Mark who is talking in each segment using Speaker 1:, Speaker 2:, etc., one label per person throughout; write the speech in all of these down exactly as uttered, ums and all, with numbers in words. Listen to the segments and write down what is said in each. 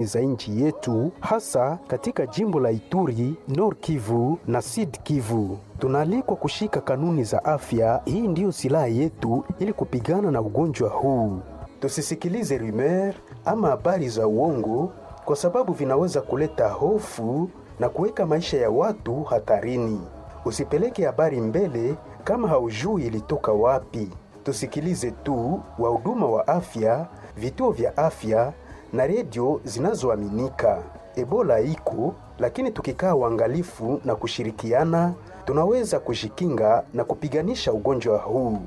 Speaker 1: Za nchi yetu hasa katika jimbo la Ituri, Nord Kivu na Sud Kivu. Tunaalikwa kushika kanuni za afya. Hii ndiyo silaha yetu ili kupigana na ugonjwa huu. Tusisikilize rumeur ama habari za uongo, kwa sababu vinaweza kuleta hofu na kuweka maisha ya watu hatarini. Usipeleke habari mbele kama haujui ilitoka wapi. Tusikilize tu wahuduma wa afya, vituo vya afya na redio zinazoaminika. Ebola iko, lakini tukikaa uangalifu na kushirikiana, tunaweza kujikinga na kupiganisha ugonjwa huu.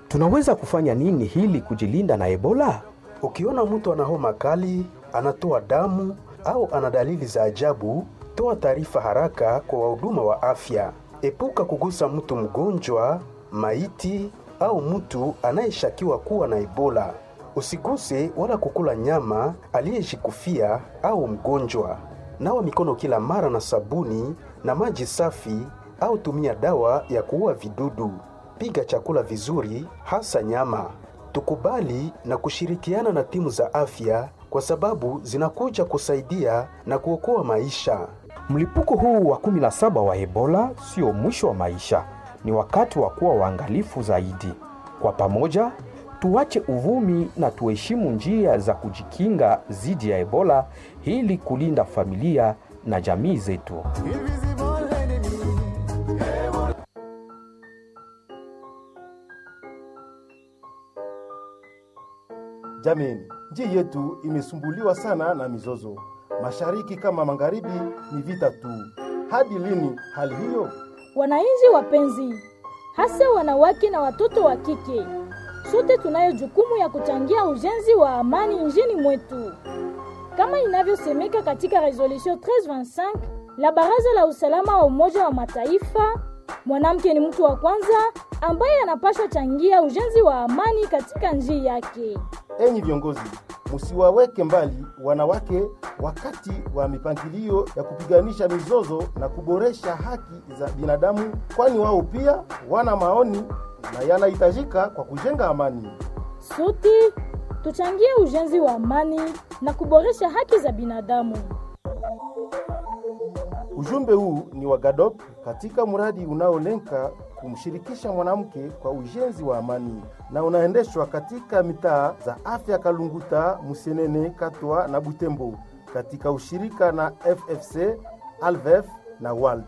Speaker 2: Tunaweza kufanya nini hili kujilinda na Ebola?
Speaker 1: Ukiona mtu ana homa kali, anatoa damu au ana dalili za ajabu, toa taarifa haraka kwa wahuduma wa afya. Epuka kugusa mtu mgonjwa, maiti au mtu anayeshakiwa kuwa na Ebola. Usiguse wala kukula nyama aliyejikufia au mgonjwa. Nawa mikono kila mara na sabuni na maji safi au tumia dawa ya kuua vidudu. Piga chakula vizuri, hasa nyama. Tukubali na kushirikiana na timu za afya kwa sababu zinakuja kusaidia na kuokoa maisha.
Speaker 2: Mlipuko huu wa kumi na saba wa Ebola sio mwisho wa maisha, ni wakati wa kuwa waangalifu zaidi. Kwa pamoja, tuache uvumi na tuheshimu njia za kujikinga dhidi ya Ebola ili kulinda familia na jamii zetu.
Speaker 3: Jameni, nchi yetu imesumbuliwa sana na mizozo, mashariki kama magharibi, ni vita tu. Hadi lini hali hiyo?
Speaker 4: Wananchi wapenzi, hasa wanawake na watoto wa kike, sote tunayo jukumu ya kuchangia ujenzi wa amani nchini mwetu, kama inavyosemeka katika resolution elfu moja mia tatu ishirini na tano la Baraza la Usalama wa Umoja wa Mataifa. Mwanamke ni mtu wa kwanza ambaye anapaswa changia ujenzi wa amani katika nchi yake.
Speaker 3: Enyi viongozi, musiwaweke mbali wanawake wakati wa mipangilio ya kupiganisha mizozo na kuboresha haki za binadamu, kwani wao pia wana maoni na yanahitajika kwa kujenga amani.
Speaker 4: Sote tuchangie ujenzi wa amani na kuboresha haki za binadamu.
Speaker 3: Ujumbe huu ni wa GADOP katika mradi unaolenga kumshirikisha mwanamke kwa ujenzi wa amani na unaendeshwa katika mitaa za afya Kalunguta, Musenene, Katwa na Butembo katika ushirika na F F C, Alvef na WALT.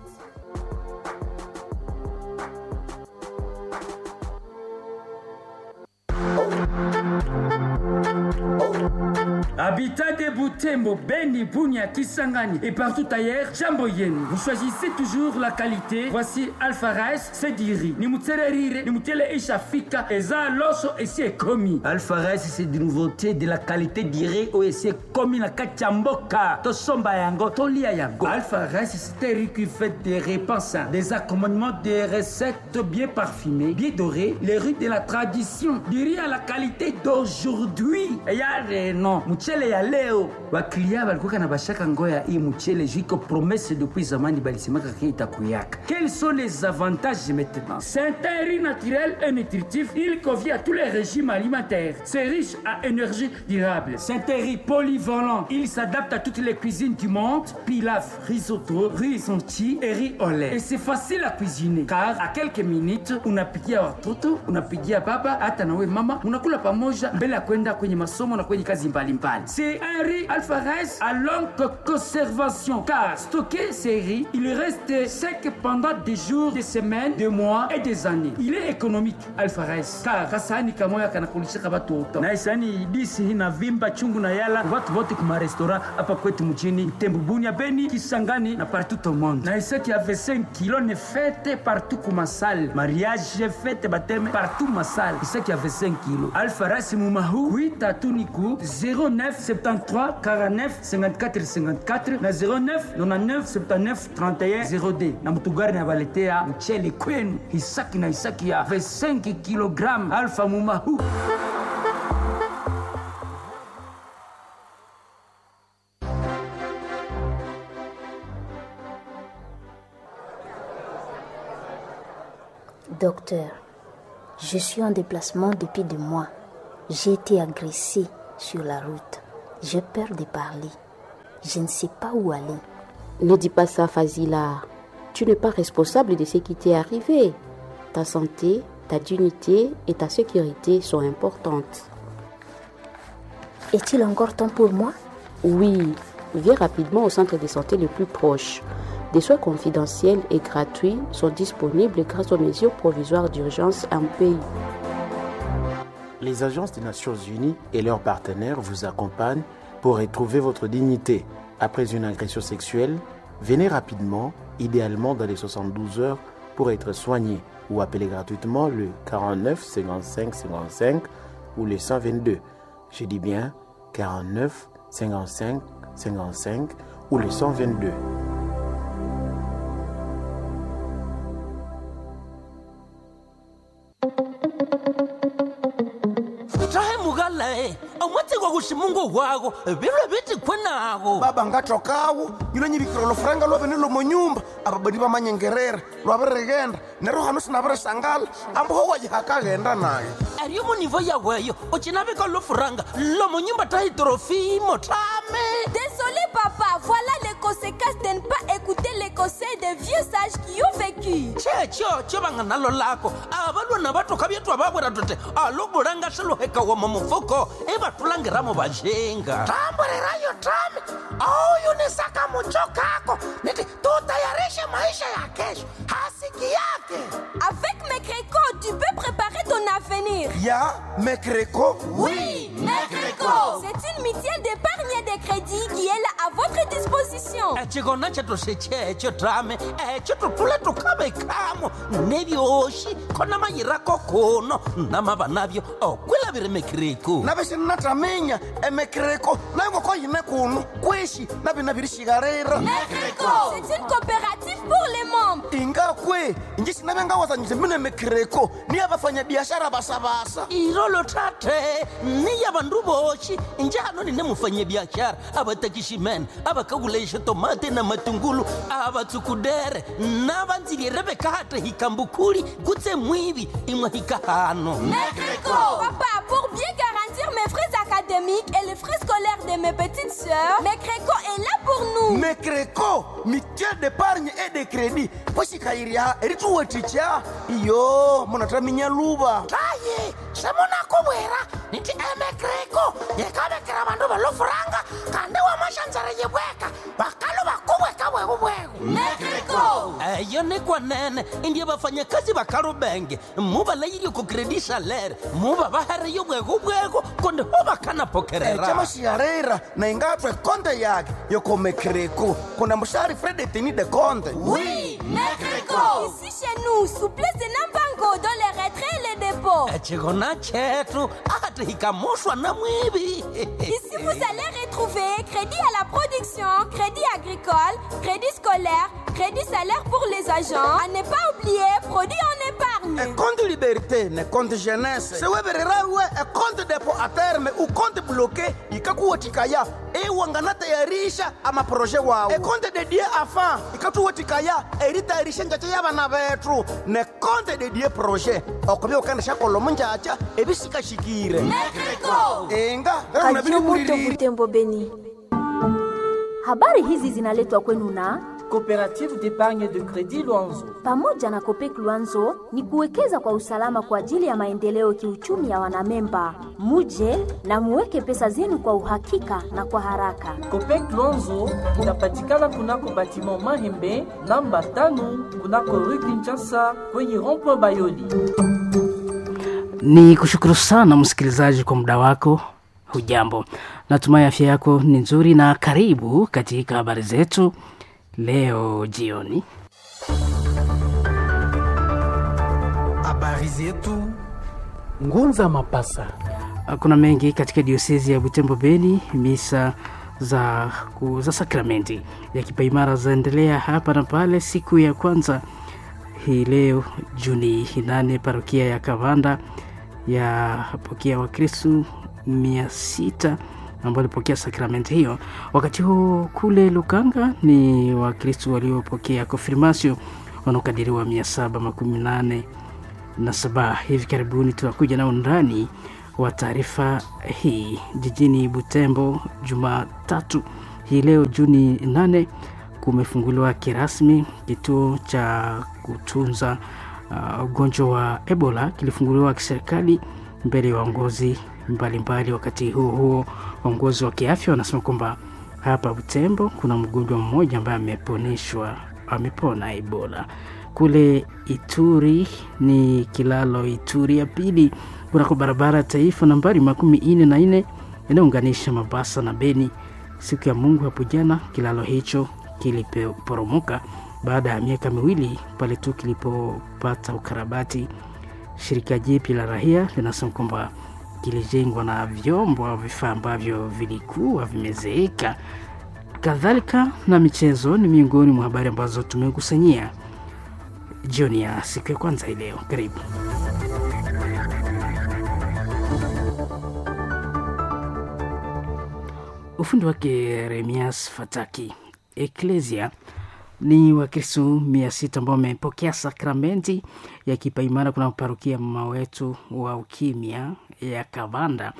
Speaker 5: Habitat de Butembo, Beni, Bunia, Kisangani et partout ailleurs, jambo yenu. Vous choisissez toujours la qualité. Voici Alpha Rice, c'est du riz. Ni mutele rire, ni mutele ishafika, eza loso esi ekomi. Alpha Rice, c'est des nouveautés de la qualité du riz oyo esi ekomi na kati ya mboka. Tosomba yango, tolia yango. Alpha Rice, c'est un riz qui fait des repas sains, des accompagnements, des recettes bien parfumées, bien dorées, les riz de la tradition, du riz à la qualité d'aujourd'hui. Ya reno, mchele ya leo baklia balikuwa na bashaka ngoya hii mchele jiko promesse depuis zamani balisemaka ke itakuyaka. Quels sont les avantages maintenant? C'est un riz naturel et nutritif, il convient à tous les régimes alimentaires, c'est riche à énergie durable, c'est un riz polyvalent, il s'adapte à toutes les cuisines du monde: pilaf, risotto, riz sonti et riz au lait. Et c'est facile à cuisiner car à quelques minutes unapikia watoto, unapikia baba, hata nawe mama unakula pamoja mbele ya kwenda kwenye masomo na kwenye kazi mbalimbali. C'est un riz Alpha Rice à longue conservation car stocker ces riz, il reste sec pendant des jours, des semaines, des mois et des années. Il est économique, Alpha Rice, car kasani kamoya kanakulishaka batu wote na isani disi na vimba chungu na yala watu wote kuma restaurant hapa kwetu mjini Butembo, Bunia, Beni, Kisangani na partout au monde. Na isaki avait cinq kilos ne fête partout kuma salle, mariage, fête, baptême, partout ma salle. Isaki avait cinq kilos Alpha Rice mumahu huit tuniku zéro neuf soixante-treize quarante-neuf cinquante-quatre cinquante-quatre na zéro neuf quatre-vingt-dix-neuf soixante-dix-neuf trente et un zéro deux na mutugari na baletea mchele kwenu isaki na isaki ya vingt-cinq kilogrammes Alpha mumahu.
Speaker 6: Docteur, je suis en déplacement depuis deux mois. J'ai été agressée sur la route. J'ai peur de parler. Je ne sais pas où aller.
Speaker 7: Ne dis pas ça, Fazila. Tu n'es pas responsable de ce qui t'est arrivé. Ta santé, ta dignité et ta sécurité sont importantes.
Speaker 6: Est-il encore temps pour moi?
Speaker 7: Oui, viens rapidement au centre de santé le plus proche. Des soins confidentiels et gratuits sont disponibles grâce aux mesures provisoires d'urgence en pays.
Speaker 8: Les agences des Nations Unies et leurs partenaires vous accompagnent pour retrouver votre dignité. Après une agression sexuelle, venez rapidement, idéalement dans les soixante-douze heures, pour être soigné ou appelez gratuitement le quarante-neuf cinquante-cinq cinquante-cinq ou le cent vingt-deux. Je dis bien quarante-neuf cinquante-cinq cinquante-cinq ou le cent vingt-deux.
Speaker 9: Omwatsi gushimungu wako birwe biti kwenago
Speaker 10: baba ngathokawo yilo nyibikira olufuranga lwabene lomonyumba ababadi bamanyengerera lwabirighenda neryo hano sinabirisangala ambuho wajihakaghenda nayo
Speaker 9: ariyo munivo yaweyo ucinavika lufuranga lomonyumba tahitrofimo tame.
Speaker 11: Désolé papa, voilà les conséquences de ne pas écouter les conseils des vieux sages qui ont vécu.
Speaker 9: Checho cho vanga nalo lako avalwana vatoka vyetwa vavwera tote aluvulanga swiluheka woma mufuko ivatulangiramo vajenga
Speaker 10: tamburirayo tame auyu nisaka mucho kako niti tutayarishe maisha ya kesho hasiki yake.
Speaker 11: Avec Mekreko, tu peux préparer ton avenir.
Speaker 10: Ya Mekreko?
Speaker 11: Oui, Mekreko. C'est une mutuelle d'épargne et de crédit qui est là à votre disposition.
Speaker 9: Chikona chetu sechecho tame echo tutule tukavekamo nevyoxi khona mayirako kuno namava navyo okwilavire Mekreko.
Speaker 10: Navisinataminya emekreko nayo ngoko yine kuno kwishi navinavirixikarira.
Speaker 11: Mekreko, c'est une coopérative pour les membres.
Speaker 10: Ingakwe inji sinavengawazanyise mine mekreko niya vafanyabiashara vasavasa
Speaker 9: irolo tate niya vandu voxi njano nine mufanyabiashara avatakiximene avakakulexa tomate na matungulu avatsukudere na vandzilire vekate hikambukhuli kutse mwivi imwe hikahano.
Speaker 11: Mekreko. Papa, pour bien garantir mes frais académiques et les frais scolaires de mes petites sœurs, Mekreko est là pour nous.
Speaker 10: Mekreko, mutuelle d'épargne et de crédit poxikayirya erituweticha iyo munataminya luva
Speaker 9: taye semunakuvwera niti emekreko yekavekera vandu valofuranga kandi wamashanzara yivweka vakalo vakuvweka bwekubweku.
Speaker 11: Mekreko
Speaker 9: eyo ni kwanene indiye vafanyakazi vakalubenge muvalayirye ku kredi salere muva vahereyo bwekubweko kundi ho vakanapokerera
Speaker 10: chamaxiarera na ingatwe konde yake yokomekreko kuna muxari fredetini de konde.
Speaker 11: Oui, Mekreko. Ici chez nous, souplesse de Nambango dans les retraits et les dépôts.
Speaker 9: Chikona chetu ati hikamoshwa na mwivi.
Speaker 11: Ici, vous allez retrouver crédit à la production, crédit agricole, crédit scolaire, crédit salaire pour les agents. À ne pas oublier, produit en épargne.
Speaker 10: E compte liberté ne compte jeunesse sewevererawe e compte dépôt à terme ou compte bloqué ikakuwetikaya iwanganatayarisha amaproje wawo e compte dédié afin ikatuwetikaya eritayarisha njacha ya vana vethu ne compte dédié projet okuvya ukandisha kolomo njacha evisikashikire.
Speaker 11: Mekreko
Speaker 10: inga
Speaker 12: Radio Moto Butembo Beni.
Speaker 6: Habari hizi zinaletwa kwenu na
Speaker 13: Coopérative d'épargne de crédit Luanzo.
Speaker 6: Pamoja na Copec Luanzo ni kuwekeza kwa usalama kwa ajili ya maendeleo kiuchumi ya wanamemba. Muje na muweke pesa zenu kwa uhakika na kwa haraka.
Speaker 13: Copec Luanzo inapatikana kunako batiment Mahembe namba tano kunako rue Kinshasa kwenye rond-point Bayoli.
Speaker 14: Ni kushukuru sana msikilizaji kwa muda wako. Hujambo, natumai afya yako ni nzuri, na karibu katika habari zetu leo jioni.
Speaker 1: Habari zetu Ngunza Mapasa.
Speaker 14: Kuna mengi katika diosezi ya Butembo Beni. Misa za, za sakramenti ya kipaimara zaendelea hapa na pale. Siku ya kwanza hii leo Juni nane, parokia ya Kavanda yapokea Wakristu mia sita ambao walipokea sakramenti hiyo. Wakati huo kule Lukanga ni Wakristu waliopokea konfirmasio wanaokadiriwa mia saba makumi nane na saba. Hivi karibuni tutakuja na undani wa taarifa hii. Jijini Butembo Jumatatu Hii leo Juni nane kumefunguliwa kirasmi kituo cha kutunza ugonjwa uh, wa Ebola kilifunguliwa kiserikali mbele ya waongozi mbalimbali. Wakati huo huo, waongozi wa kiafya wanasema kwamba hapa Butembo kuna mgonjwa mmoja ambaye ameponeshwa, amepona Ebola. Kule Ituri ni kilalo Ituri ya pili kunako barabara ya taifa nambari makumi nne na nne inayounganisha Mabasa na Beni. Siku ya Mungu hapo jana kilalo hicho kiliporomoka baada ya miaka miwili pale tu kilipopata ukarabati. Shirika jipya la rahia linasema kwamba kilijengwa na vyombo au vifaa ambavyo vilikuwa vimezeeka. Kadhalika na michezo ni miongoni mwa habari ambazo tumekusanyia jioni ya siku ya kwanza hii leo. Karibu. Ufundi wake Remias Fataki. Eklesia ni Wakristo mia sita ambao wamepokea sakramenti ya kipaimara kuna parokia mama wetu wa ukimya ya Kavanda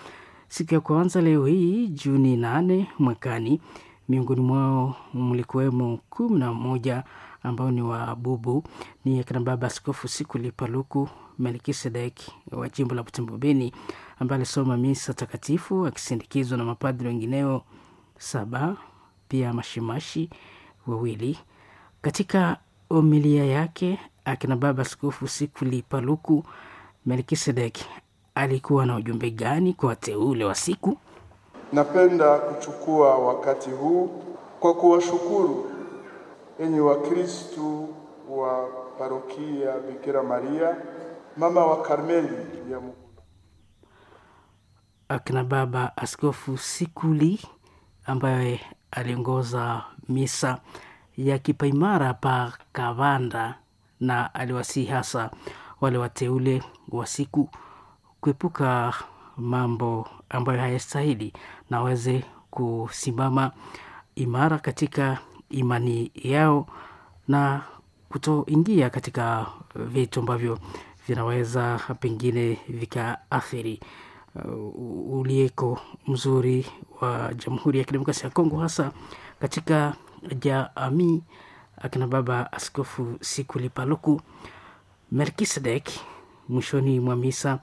Speaker 14: siku ya kwanza leo hii Juni nane mwakani. Miongoni mwao mlikuwemo kumi na moja ambao ni wabubu ni akina baba Askofu Sikuli Paluku Melkisedek wa jimbo la Butembo Beni, ambaye alisoma misa takatifu akisindikizwa na mapadri wengineo saba, pia mashimashi wawili. Katika homilia yake akina baba Askofu Sikuli Paluku Melkisedek alikuwa na ujumbe gani kwa wateule wa siku?
Speaker 15: Napenda kuchukua wakati huu kwa kuwashukuru enyi Wakristu wa parokia Bikira Maria mama wa Karmeli ya Mungu.
Speaker 14: Akina baba Askofu Sikuli ambaye aliongoza misa ya kipaimara pa Kavanda na aliwasihi hasa wale wateule wa siku kuepuka mambo ambayo hayastahili na waweze kusimama imara katika imani yao na kutoingia katika vitu ambavyo vinaweza pengine vikaathiri uh, ulieko mzuri wa Jamhuri ya Kidemokrasia ya Kongo, hasa katika jamii. Akina baba Askofu Sikuli Paluku Melkisedek mwishoni mwa misa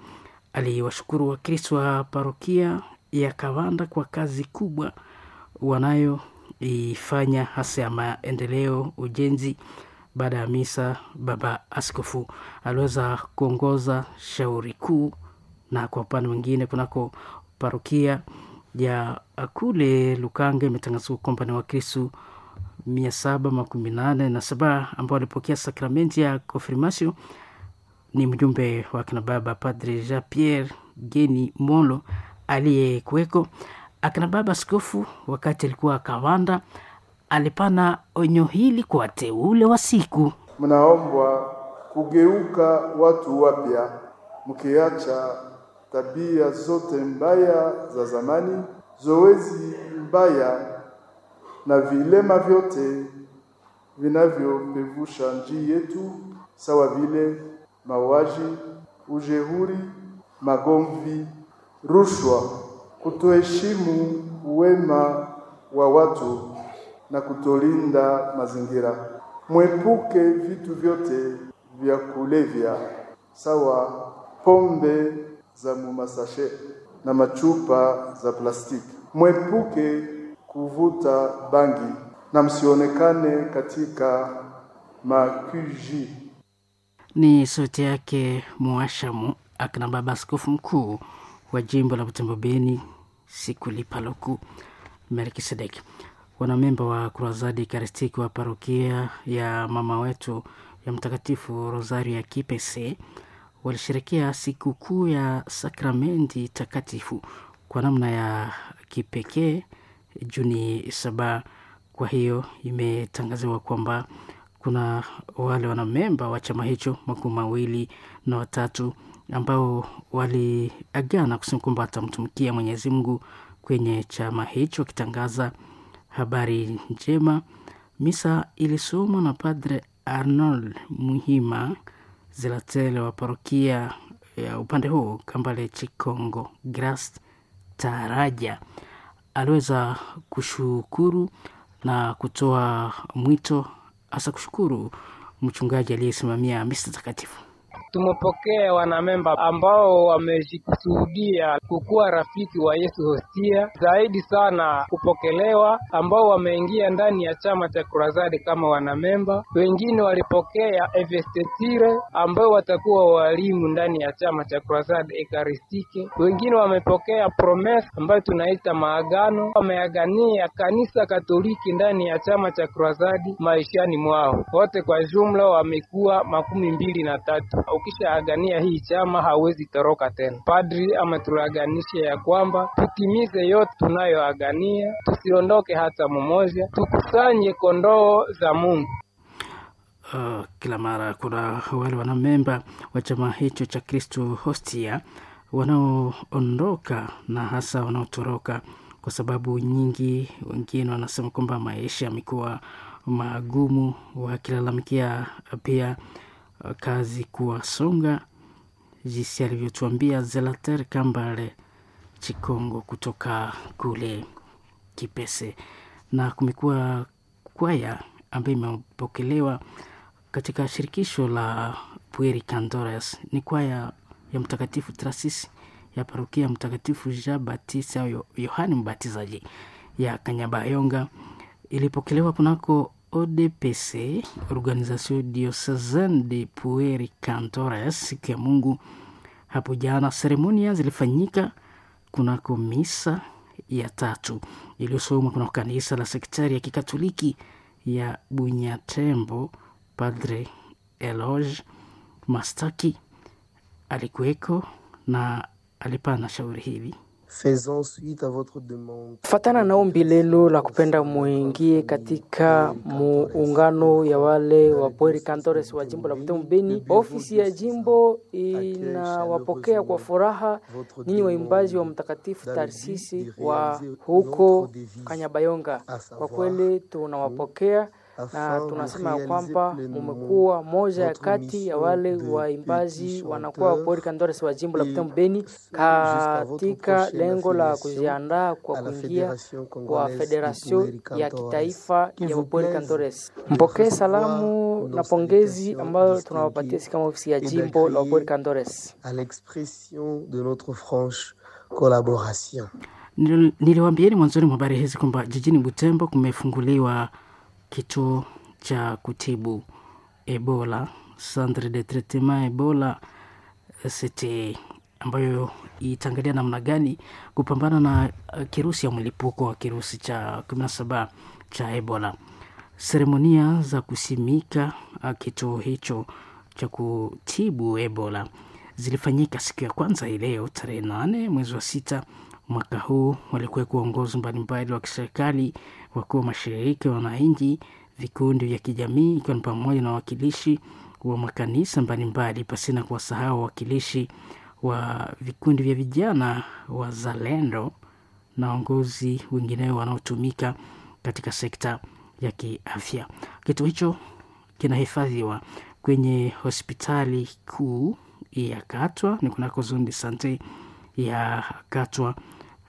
Speaker 14: aliwashukuru Wakristo wa parokia ya Kavanda kwa kazi kubwa wanayoifanya hasa ya maendeleo, ujenzi. Baada ya misa, baba askofu aliweza kuongoza shauri kuu, na kwa upande mwingine kunako parokia ya kule Lukanga imetangazwa kwamba ni Wakristo mia saba makumi nane na saba ambao walipokea sakramenti ya konfirmasio. Ni mjumbe wa akina baba Padre Jean Pierre Geni Molo aliyekuweko. Akina baba askofu wakati alikuwa Kawanda alipana onyo hili kwa wateule wa siku:
Speaker 15: mnaombwa kugeuka watu wapya, mkiacha tabia zote mbaya za zamani, zoezi mbaya na vilema vyote vinavyopevusha njii yetu, sawa vile mauaji, ujehuri, magomvi, rushwa, kutoheshimu wema wa watu na kutolinda mazingira. Mwepuke vitu vyote vya kulevya sawa pombe za mumasashe na machupa za plastiki. Mwepuke kuvuta bangi na msionekane katika makuji.
Speaker 14: Ni sauti yake Mwashamu akina baba askofu mkuu wa jimbo la Butembo Beni Sikuli Paluku Melkisedeki. Wanamemba wa Kruzadi Karistiki wa parokia ya mama wetu ya Mtakatifu Rosario ya Kipese walisherekea sikukuu ya sakramenti takatifu kwa namna ya kipekee Juni saba. Kwa hiyo imetangaziwa kwamba kuna wale wanamemba wa chama hicho makumi mawili na watatu ambao waliagana kusema kwamba watamtumikia Mwenyezi Mungu kwenye chama hicho, wakitangaza habari njema. Misa ilisomwa na Padre Arnold Muhima Zilatele wa parokia ya upande huo Kambale Chikongo Gras Taraja. Aliweza kushukuru na kutoa mwito, hasa kushukuru mchungaji aliyesimamia misa takatifu.
Speaker 16: Tumepokea wanamemba ambao wamejikusudia kukuwa rafiki wa Yesu Hostia, zaidi sana kupokelewa, ambao wameingia ndani ya chama cha Kurazadi kama wanamemba. Wengine walipokea evestetire ambao watakuwa walimu ndani ya chama cha Kurazadi Ekaristike. Wengine wamepokea promise ambayo tunaita maagano, wameagania kanisa Katoliki ndani ya chama cha Kurazadi maishani mwao. Wote kwa jumla wamekuwa makumi mbili na tatu. Ukishaagania hii chama hawezi toroka tena. Padri ametulaganisha ya kwamba tutimize yote tunayoagania, tusiondoke hata mmoja, tukusanye kondoo za Mungu.
Speaker 14: Uh, kila mara kuna wale wanamemba wa chama hicho cha Kristo Hostia wanaoondoka na hasa wanaotoroka kwa sababu nyingi. Wengine wanasema kwamba maisha yamekuwa magumu, wakilalamikia pia kazi kuwasonga, jinsi alivyotuambia Zelater Kambale Chikongo kutoka kule Kipese. Na kumekuwa kwaya ambayo imepokelewa katika shirikisho la Pueri Cantores, ni kwaya ya Mtakatifu Trasis ya parokia Mtakatifu Jean Baptiste au Yohani Mbatizaji ya Kanyabayonga, ilipokelewa kunako O D P C, Organisation Diocesaine de Pueri Cantores, siku ya Mungu hapo jana. Seremonia zilifanyika kunako misa ya tatu iliyosomwa kunako kanisa la sektari ya kikatoliki ya Bunyatembo. Padre Eloge Mastaki alikuweko na alipana shauri hili.
Speaker 17: Fatana na ombi lenu la kupenda muingie katika muungano ya wale wa Pueri Cantores wa jimbo la Butembo Beni. Ofisi ya jimbo inawapokea kwa furaha ninyi waimbaji wa Mtakatifu Tarsisi wa huko Kanyabayonga. Kwa kweli tunawapokea na tunasema ya kwamba mumekuwa moja ya kati ya wale waimbaji wanakuwa Pueri Cantores wa jimbo la Butembo Beni katika lengo la kujiandaa kwa kuingia kwa federasio ya kitaifa ya Pueri Cantores. Mpokee salamu na pongezi ambayo tunawapatia sisi kama ofisi ya jimbo la Pueri Cantores.
Speaker 18: À l'expression de notre franche collaboration.
Speaker 14: Niliwaambieni mwanzoni mwa habari hizi kwamba jijini Butembo kumefunguliwa kituo cha kutibu Ebola, Centre de Traitement Ebola C T, ambayo itaangalia namna gani kupambana na kirusi ya mlipuko wa kirusi cha kumi na saba cha Ebola. Seremonia za kusimika kituo hicho cha kutibu Ebola zilifanyika siku ya kwanza hii leo tarehe nane mwezi wa sita mwaka huu. Walikuweko waongozi mbalimbali wa kiserikali, wakuu wa mashirika ya wananchi, vikundi vya kijamii, ikiwa ni pamoja na wawakilishi wa makanisa mbalimbali, pasina kuwasahau wawakilishi wa vikundi vya vijana wazalendo na waongozi wengineo wanaotumika katika sekta ya kiafya. Kituo hicho kinahifadhiwa kwenye hospitali kuu ya Katwa, ni kunako zone de sante ya Katwa,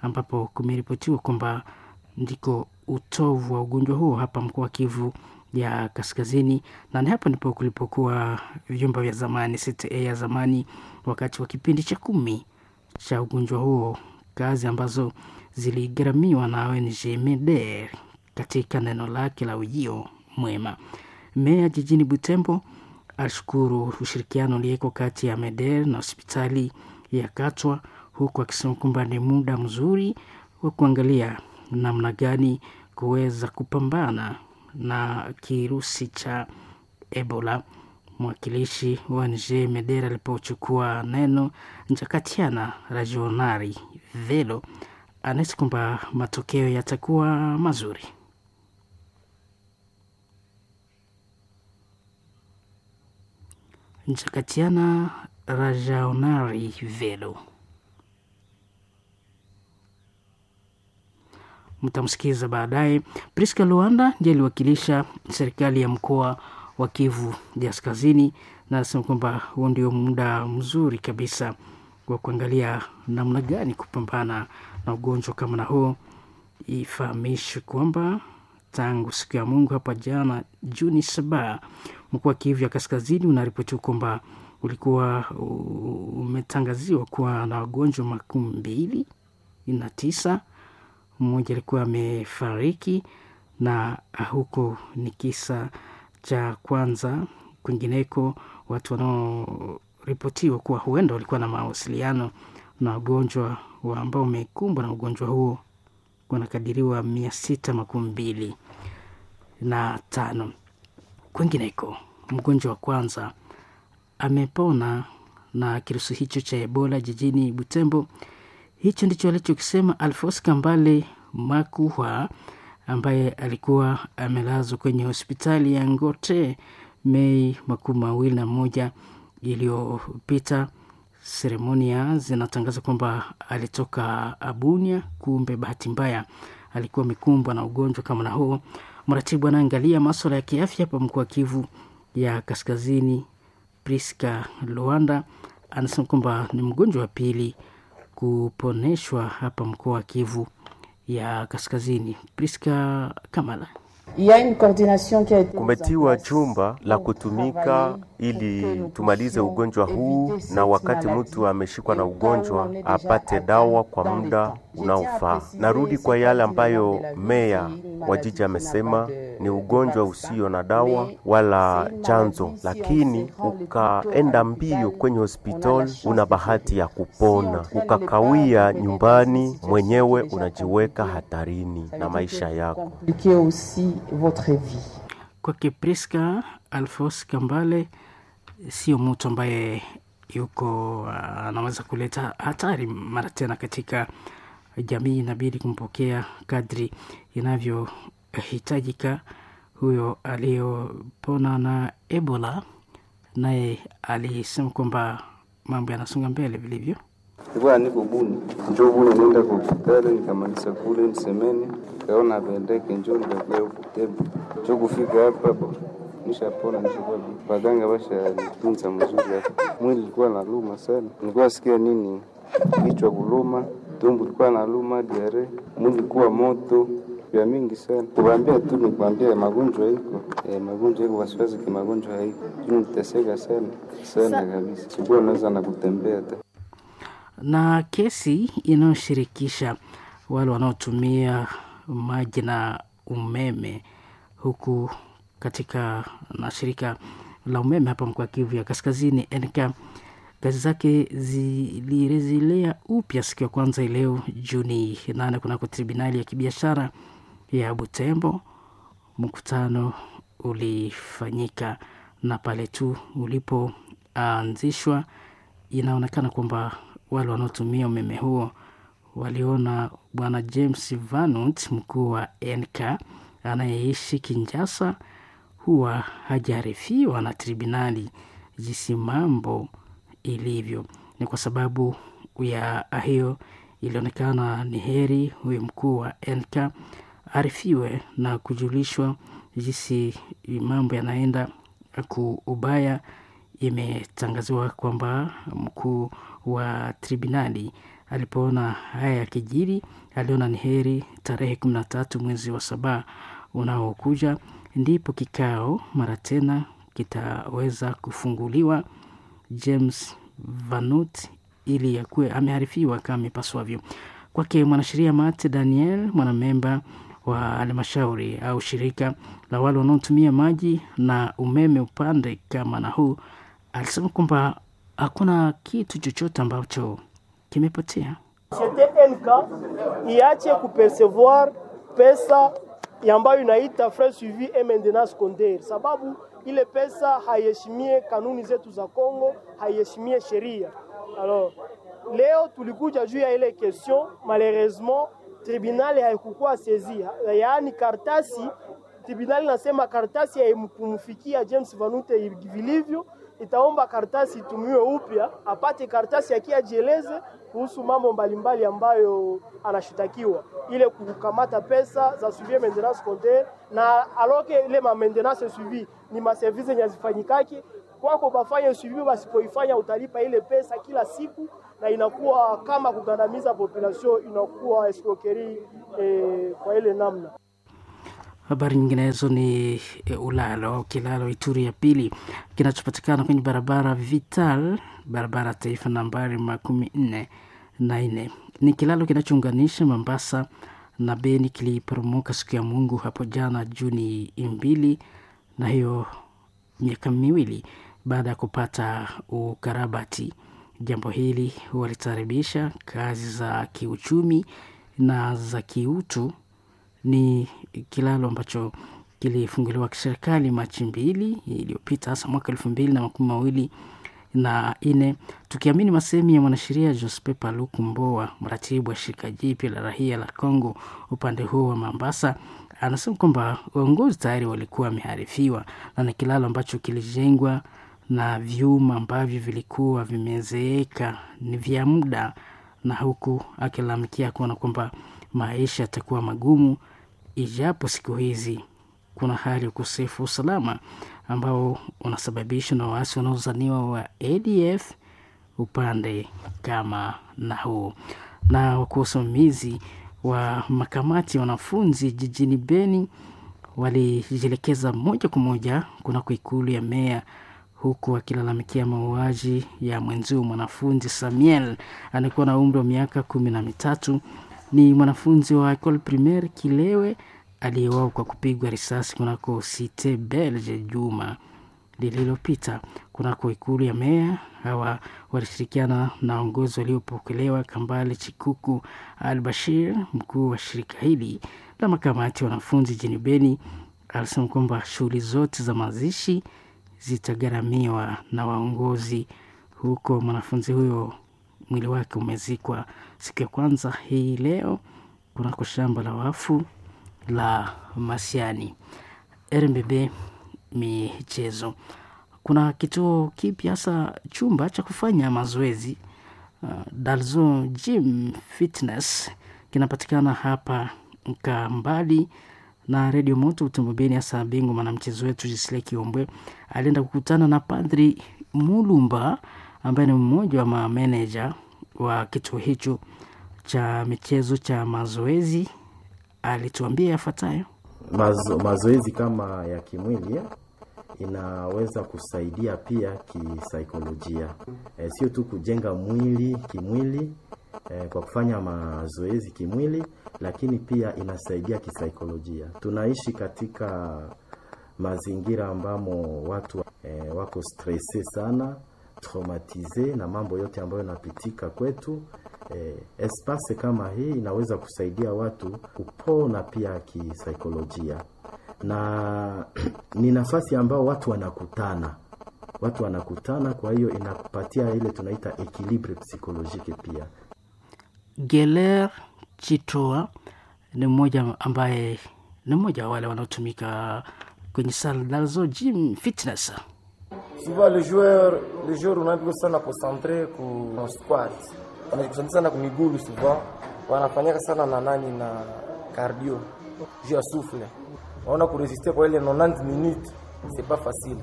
Speaker 14: ambapo kumeripotiwa kwamba ndiko utovu wa ugonjwa huo hapa mkoa wa Kivu ya Kaskazini, na ni hapa ndipo kulipokuwa vyumba vya zamani C T A ya zamani wakati wa kipindi cha kumi cha ugonjwa huo, kazi ambazo ziligharamiwa na O N G Meder katika neno lake la ujio mwema. Meya jijini Butembo ashukuru ushirikiano ulioko kati ya Meder na hospitali ya Katwa, huku akisema kwamba ni muda mzuri wa kuangalia namna gani kuweza kupambana na kirusi cha Ebola. Mwakilishi wa N G Meder alipochukua neno, Njakatiana Rajonari Velo anahisi kwamba matokeo yatakuwa mazuri. Njakatiana Rajaonari Velo mtamsikiza baadaye. Priska Luanda ndiye aliwakilisha serikali ya mkoa wa Kivu Kaskazini, na anasema kwamba huo ndio muda mzuri kabisa wa kuangalia namna gani kupambana na ugonjwa kama na huo. Ifahamishwe kwamba tangu siku ya Mungu hapa jana Juni saba, mkoa wa Kivu ya Kaskazini unaripotiwa kwamba ulikuwa umetangaziwa kuwa na wagonjwa makumi mbili na tisa, mmoja alikuwa amefariki, na huko ni kisa cha kwanza. Kwingineko, watu wanaoripotiwa kuwa huenda walikuwa na mawasiliano na wagonjwa wa ambao wamekumbwa na ugonjwa huo wanakadiriwa mia sita makumi mbili na tano. Kwingineko, mgonjwa wa kwanza amepona na kirusi hicho cha Ebola jijini Butembo. Hicho ndicho alichokisema Alphonse Kambale Makuhwa ambaye alikuwa amelazwa kwenye hospitali ya Ngote Mei makumi mawili na moja iliyopita. Seremonia zinatangaza kwamba alitoka Abunia, kumbe bahati mbaya alikuwa amekumbwa na ugonjwa kama na huo. Mratibu anaangalia maswala ya kiafya hapa mkoa wa Kivu ya Kaskazini, Priska Luanda, anasema kwamba ni mgonjwa wa pili kuponeshwa hapa mkoa wa Kivu ya Kaskazini. Priska Kamala.
Speaker 19: Kumetiwa chumba la kutumika ili tumalize ugonjwa huu, na wakati mtu ameshikwa na ugonjwa apate dawa kwa muda unaofaa. Narudi kwa yale ambayo meya wa jiji amesema, ni ugonjwa usio na dawa wala chanzo, lakini ukaenda mbio kwenye hospitali una bahati ya kupona. Ukakawia nyumbani mwenyewe unajiweka hatarini na maisha yako.
Speaker 14: Kwake Priska, Alphonse Kambale sio mtu ambaye yuko anaweza kuleta hatari mara tena katika jamii. Inabidi kumpokea kadri inavyohitajika. Huyo aliyopona na Ebola naye alisema kwamba mambo yanasonga mbele vilivyo.
Speaker 20: Nilikuwa niko Buni, njo Buni nenda kwa hospitali nikamaliza kule nisemeni, nikaona pendeke, njo nikakuya huku Tembo, njo kufika hapa bo nishapona, nishakuwa baganga basha nitunza mzuri hapa. Mwili ilikuwa naluma sana, nilikuwa sikia nini, kichwa kuluma, tumbo ilikuwa naluma, diare, mwili ilikuwa moto vya mingi sana. Kuambia tu ni kuambia magonjwa iko e, magonjwa iko, wasiwasi ki magonjwa haiko, niteseka sana sana kabisa, sikuwa naweza na kutembea hata
Speaker 14: na kesi inayoshirikisha wale wanaotumia maji na umeme huku katika na shirika la umeme hapa mkoa Kivu ya Kaskazini N K kazi zake zilirejelea upya siku ya kwanza leo Juni nane kunako tribunali ya kibiashara ya Butembo. Mkutano ulifanyika na pale tu ulipoanzishwa, inaonekana kwamba wale wanaotumia umeme huo waliona bwana James Vanut, mkuu wa N K anayeishi Kinshasa, huwa hajaarifiwa na tribunali jinsi mambo ilivyo. Ni kwa sababu ya hiyo ilionekana ni heri huyu mkuu wa N K arifiwe na kujulishwa jinsi mambo yanaenda kuubaya. Imetangaziwa kwamba mkuu wa tribunali alipoona haya yakijiri, aliona ni heri tarehe kumi na tatu mwezi wa saba unaokuja ndipo kikao mara tena kitaweza kufunguliwa. James Vanut ili yakuwe amearifiwa kama ipaswavyo. Kwake mwanasheria Mate Daniel, mwanamemba wa halmashauri au shirika la wale wanaotumia maji na umeme upande kama na huu, alisema kwamba hakuna kitu chochote ambacho kimepotea.
Speaker 21: Societe N K iache kupercevoir pesa ambayo inaita frais suivi et maintenance compteur, sababu ile pesa haiheshimie kanuni zetu za Kongo, haiheshimie sheria. Alors leo tulikuja juu ya ile question, malheureusement tribunal haikukuwa saisi, yaani kartasi tribunal nasema kartasi haikumfikia James Vanute vilivyo, itaomba kartasi itumiwe upya, apate kartasi akiajieleze kuhusu mambo mbalimbali ambayo anashitakiwa, ile kukamata pesa za suivi maintenance compteur na aloke ile ma maintenance suivi ni ma service yenye hazifanyikaki kwako, bafanye suivi, basipoifanya utalipa ile pesa kila siku, na na inakuwa kama kugandamiza population, inakuwa escroquerie eh, kwa ile namna.
Speaker 14: Habari nyinginezo ni e, ulalo au kilalo Ituri ya pili kinachopatikana kwenye barabara Vital, barabara taifa nambari makumi nne na nne. Ni kilalo kinachounganisha Mombasa na Beni, kiliporomoka siku ya Mungu hapo jana Juni mbili, na hiyo miaka miwili baada ya kupata ukarabati. Jambo hili walitaribisha kazi za kiuchumi na za kiutu. Ni kilalo ambacho kilifunguliwa kiserikali Machi mbili iliyopita, hasa mwaka elfu mbili na makumi mawili na nne, tukiamini masemi ya mwanasheria Jospe Paluku Mboa, mratibu wa shirika jipya la rahia la Congo upande huo wa Mombasa, anasema kwamba uongozi tayari walikuwa wameharifiwa na ni kilalo ambacho kilijengwa na vyuma ambavyo vilikuwa vimezeeka ni vya muda, na huku akilalamikia kuona kwamba maisha yatakuwa magumu, ijapo siku hizi kuna hali ya ukosefu wa usalama ambao unasababishwa na waasi wanaozaniwa wa A D F upande kama na huu. Na wakuu wasimamizi wa makamati ya wanafunzi jijini Beni walijielekeza moja kwa moja kunako ikulu ya meya, huku wakilalamikia mauaji ya mwenzio mwanafunzi Samuel anayekuwa na umri wa miaka kumi na mitatu. Ni mwanafunzi wa Ecole Primaire Kilewe aliyeuawa kwa kupigwa risasi kunako Cite Belge juma lililopita. Kunako ikulu ya meya, hawa walishirikiana na waongozi waliopokelewa Kambale Chikuku Al Bashir, mkuu wa shirika hili la makamati ya wanafunzi jijini Beni, alisema kwamba shughuli zote za mazishi zitagharamiwa na waongozi huko. Mwanafunzi huyo mwili wake umezikwa siku ya kwanza hii leo kunako shamba la wafu la Masiani. R M B B michezo, kuna kituo kipya hasa chumba cha kufanya mazoezi uh, Dalzo Gym Fitness kinapatikana hapa Kambali na Radio Moto Butembo Beni. Hasa bingwa mwanamchezo wetu Gisle Kiombwe alienda kukutana na Padri Mulumba ambaye ni mmoja wa mameneja wa kituo hicho cha michezo cha mazoezi. Alituambia yafuatayo.
Speaker 2: Mazo, mazoezi kama ya kimwili inaweza kusaidia pia kisaikolojia. E, sio tu kujenga mwili kimwili e, kwa kufanya mazoezi kimwili, lakini pia inasaidia kisaikolojia. Tunaishi katika mazingira ambamo watu e, wako stresse sana, traumatize na mambo yote ambayo yanapitika kwetu. Eh, espace kama hii inaweza kusaidia watu kupona pia kisaikolojia, na ni nafasi ambao watu wanakutana, watu wanakutana, kwa hiyo inakupatia ile tunaita equilibre psychologique pia.
Speaker 14: Geler Chitoa ni mmoja ambaye ni mmoja wa wale wanaotumika kwenye Saldazo Gym Fitness.
Speaker 22: Souvent le joueur, le joueur unapo sana concentré ku squat. Wanajikusanya sana ku migulu souvent, wanafanyaka sana na nani na cardio juu ya souffle. Waona kurésister kwa ile quatre-vingt-dix minutes c'est pas facile.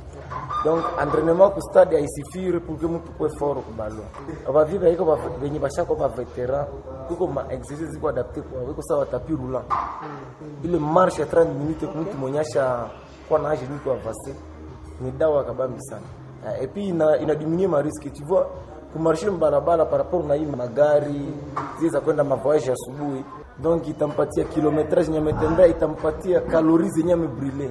Speaker 22: Donc entraînement ku stade haisifire pour que mtu kwe fort ku ballon. Abaviva iko benye bashako ba veteran, kuko ma exercice ziko adapté kwa wiko sawa tapis roulant. Ile marche ya trente minutes kwa mtu mwenyasha kwa na age niko avancé ni dawa kabambi sana. Et puis ina, ina diminuer ma risque, tu vois, kumarcher mbarabara par rapport na hii magari zile za kwenda mavoyage asubuhi, donc itampatia kilometrage yenye ametembea, itampatia calories zenye amebrûler.